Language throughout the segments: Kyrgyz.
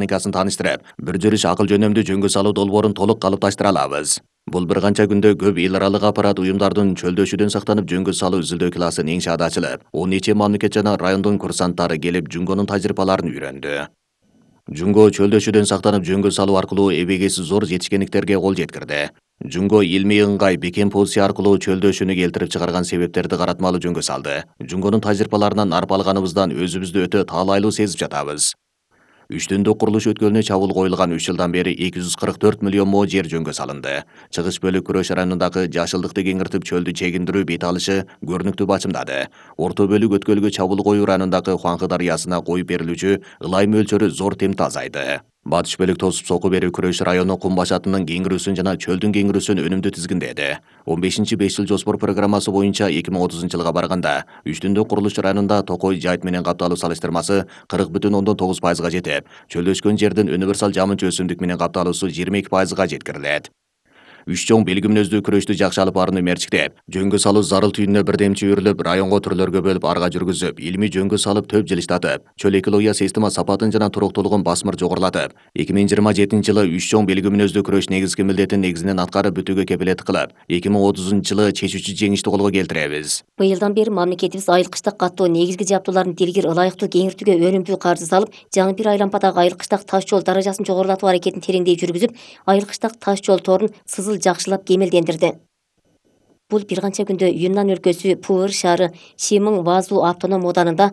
техникасын тааныштырып, бир жүрүш акыл жөнөмдүү жөнгө салуу долбоорун толук калыпташтыра алабыз. Бул бир канча күндө көп эл аралык аппарат уюмдардын чөлдөшүүдөн сактанып жөнгө салуу изилдөө классын иншаат ачылып, 10 нече мамлекет жана райондун курсанттары келип жөнгөнүн тажрыйбаларын үйрөндү. Жунго чөлдөшүүдөн сактанып жөнгө салуу аркылуу эбегейси зор жетишкендиктерге кол жеткирди. Жунго илмий ыңгай бекем позиция аркылуу чөлдөшүүнү келтирип чыгарган себептерди каратмалуу жөнгө салды. Жунгонун тажрыйбаларынан арпалганыбыздан өзүбүздү өтө таалайлуу сезип жатабыз. 3 түндүк курулуш өткөлүнө чабуул коюлган 3 жылдан бери 244 миллион мо жер жөнгө салынды. Чыгыш бөлүк күрөш районундагы жашылдыкты кеңиртип чөлдү чегиндирүү бет алышы көрүнүктүү бачымдады. Орто бөлүк өткөлгө чабуул коюу районундагы Хуанхы дарыясына коюп берилүүчү ылай мөлчөрү зор темпте азайды. Батыш бөлүк тосуп соку берүү күрөш району кум башатынын кеңирүүсүн жана чөлдүн кеңирүүсүн өнүмдүү тизгиндеди. 15-5 жыл жоспор программасы боюнча 2030-жылга барганда 3 түндүк курулуш районунда токой жайыт менен капталуу салыштырмасы 40,9%га жетип, чөлдөшкөн жердин универсал жамынча өсүмдүк менен капталуусу 22%га жеткирилет. 3 чоң белги мүнөздүү күрөштү жакшы алып барууну мерчиктеп, жөнгө салуу зарыл түйүнүнө бирдемчи өрүлүп, районго түрлөргө бөлүп арга жүргүзүп, илмий жөнгө салып төп жылыштатып, чөл экология система сапатын жана туруктуулугун басмыр жогорулатып, 2027-жылы 3 чоң белги мүнөздүү күрөш негизги милдетин негизинен аткарып бүтүүгө кепилеттик кылып, 2030-жылы чечүүчү жеңишти колго келтиребиз. Быйылдан бери мамлекетибиз айыл-кыштак каттоо негизги жабдууларын дилгир ылайыктуу кеңиртүүгө өнүмдүү каржы салып, жаңы бир айлампадагы айыл-кыштак таш жол даражасын жогорулатуу аракетин тереңдей жүргүзүп, айыл-кыштак таш жол торун сызыл жакшылап кемелдендирди. Бул бир канча күндө Юннан өлкөсү Пуыр шаары Шимың Вазу автоном ооданында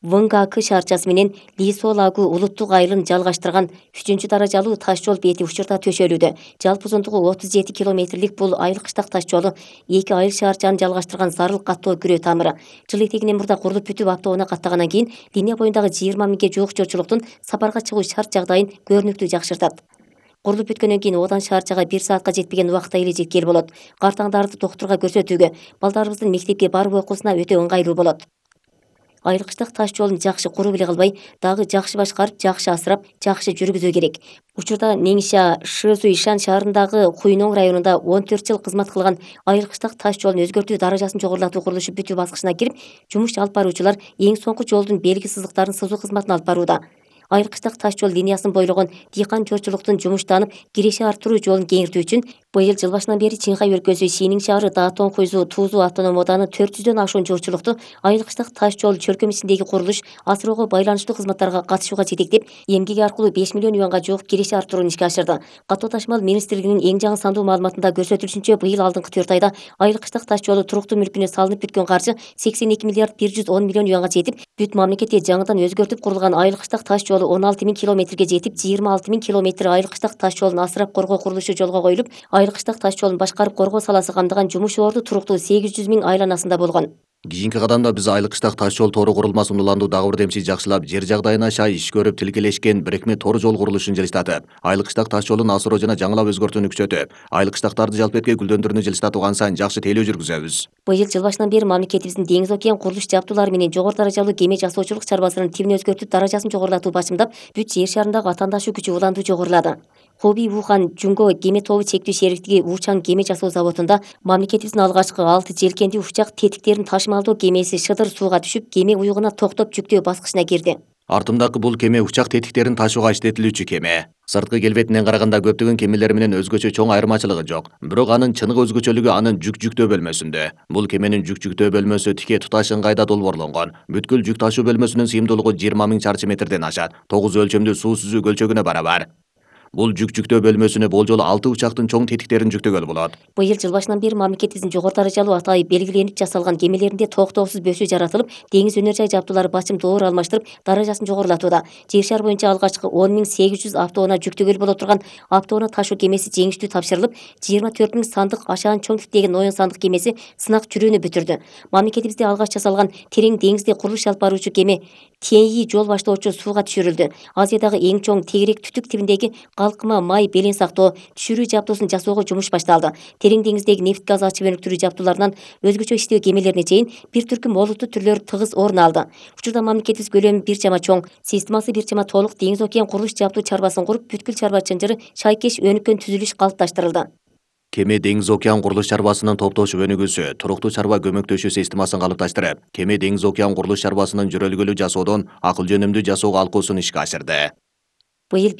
Выңгакы шаарчасы менен Лисолагу улуттук айылын жалгаштырган 3 даражалуу таш жол бети учурда төшөлүүдө. Жалпы узундугу 37 километрлик бул айыл-кыштак таш жолу эки айыл шаарчаны жалгаштырган зарыл каттоо күрөө тамыры. Жыл этегинен мурда курулуп бүтүп автоунаа каттагандан кийин линия боюндагы 20 миңге жуук жолчулуктун сапарга чыгуу шарт жагдайын көрүнүктүү жакшыртат. Курулуп бүткөндөн кийин оодан шаарчага 1 саатка жетпеген убакта эле жеткели болот. Картаңдарды доктурга көрсөтүүгө, балдарыбыздын мектепке баруу окуусуна өтө ыңгайлуу болот. Айыл-кыштак таш жолун жакшы куруп эле калбай, дагы жакшы башкарып, жакшы асырап, жакшы жүргүзүү керек. Учурда Неңиша Шызуишан шаарындагы Хуйноң районунда 14 жыл кызмат кылган айыл-кыштак таш жолун өзгөртүү даражасын жогорулатуу курулушу бүтүү баскычына кирип, жумуш алып баруучулар эң соңку жолдун белги сызыктарын сызуу кызматын алып барууда. Айыл-кыштак таш жол линиясын бойлогон дыйкан жолчулуктун жумуштанып, киреше арттыруу жолун кеңиртүү үчүн быйыл жыл башынан бери Чыңхай өлкөсү Синин шаары Даатон Хуйзу Туузу автоном ооданы 400дөн ашуун жолчулукту айыл-кыштак таш жол чөлкөмүсүндөгү курулуш, асыроого байланыштуу кызматтарга катышууга жетектеп, эмгеги аркылуу 5 миллион юанга жуук киреше арттырууну ишке ашырды. Каттоо ташмал министрлигинин эң жаңы сандуу маалыматында көрсөтүлүшүнчө, быйыл алдыңкы 4 айда айыл-кыштак таш жолу туруктуу мүлкүнө салынып бүткөн каржы 82 миллиард 110 миллион юанга жетип, бүт мамлекетте жаңыдан өзгөртүп курулган айыл-кыштак таш жолу 16 миң километрге жетип, 26 миң километр айыл-кыштак таш жолун асырап коргоо курулушу жолго коюлуп, айыл-кыштак таш жолун башкарып коргоо саласы камтыган жумуш орду туруктуу 800 миң айланасында болгон. Кийинки кадамда биз айыл-кыштак таш жол тору курулмасын уландуу дагы бирдемчи жакшылап, жер жагдайына шай иш көрүп тилкелешкен бирикме тор жол курулушун жылыштатып, айыл-кыштак таш жолун асыроо жана жаңылап өзгөртүүнү күчөтүп, айыл-кыштактарды жалпетке гүлдөндүрүүнү жылыштатууга сан жакшы тейлөө жүргүзөбүз. Быйыл жыл башынан бери мамлекетибиздин деңиз океан курулуш жабдуулары менен жогору даражалуу кеме жасоочулук чарбасынын тибин өзгөртүп, даражасын жогорулатуу бачымдап, бүт жер шарындагы атаандашуу күчү уландуу жогорулады. Хоби Вухан Жунго кеме тобу чектүү шериктиги Вучан кеме жасоо заводунда мамлекетибиздин алгачкы 6 желкендүү учак тетиктерин ташымалдоо кемеси шыдыр сууга түшүп, кеме уюгуна токтоп жүктөө баскычына кирди. Артымдагы бул кеме учак тетиктерин ташууга иштетилүүчү кеме. Сырткы келбетинен караганда көптөгөн кемелер менен өзгөчө чоң айырмачылыгы жок. Бирок анын чыныгы өзгөчөлүгү анын жүк жүктөө бөлмөсүндө. Бул кеменин жүк жүктөө бөлмөсү тике туташ ыңгайда долбоорлонгон. Бүткүл жүк ташуу бөлмөсүнүн сыйымдуулугу 20 миң чарчы метрден ашат. 9 өлчөмдүү суу сүзүү көлчөгүнө барабар. Бул жүк жүктөө бөлмөсүнө болжол 6 учактын чоң тетиктерин жүктөгөлү болот. Быйыл жыл башынан бери мамлекетибиздин жогору даражалуу атайы белгиленип жасалган кемелеринде токтоосуз бөсүү жаратылып, деңиз өнөр жай жабдуулары бачым доор алмаштырып, даражасын жогорулатууда. Жер шаар боюнча алгачкы 10.800 автоунаа жүктөгөлү боло турган автоунаа ташуу кемеси жеңиштүү тапшырылып, 24 миң сандык ашаан чоң типтеги Ноён сандык кемеси сынак жүрүүнү бүтүрдү. Мамлекетибизде алгач жасалган терең деңизде курулуш алып баруучу кеме Теньи жол баштоочу сууга түшүрүлдү. Азиядагы эң чоң тегерек түтүк тибиндеги калкыма май белең сактоо, түшүрүү жабдуусун жасоого жумуш башталды. Терең деңиздеги нефт газ ачып өнүктүрүү жабдууларынан өзгөчө иштөө кемелерине чейин бир түркүм олуттуу түрлөр тыгыз орун алды. Учурда мамлекетибиз көлөмү бир чама чоң, системасы бир чама толук деңиз океан курулуш жабдуу чарбасын куруп, бүткүл чарба чынжыры шайкеш өнүккөн түзүлүш калыпташтырылды. Кеме деңиз океан курулуш чарбасынын топтошуп өнүгүүсү, туруктуу чарба көмөктөшүү системасын калыпташтырып, кеме деңиз океан курулуш чарбасынын жөрөлгөлүү жасоодон акыл жөнөмдүү жасоого алкуусун ишке ашырды. Быйыл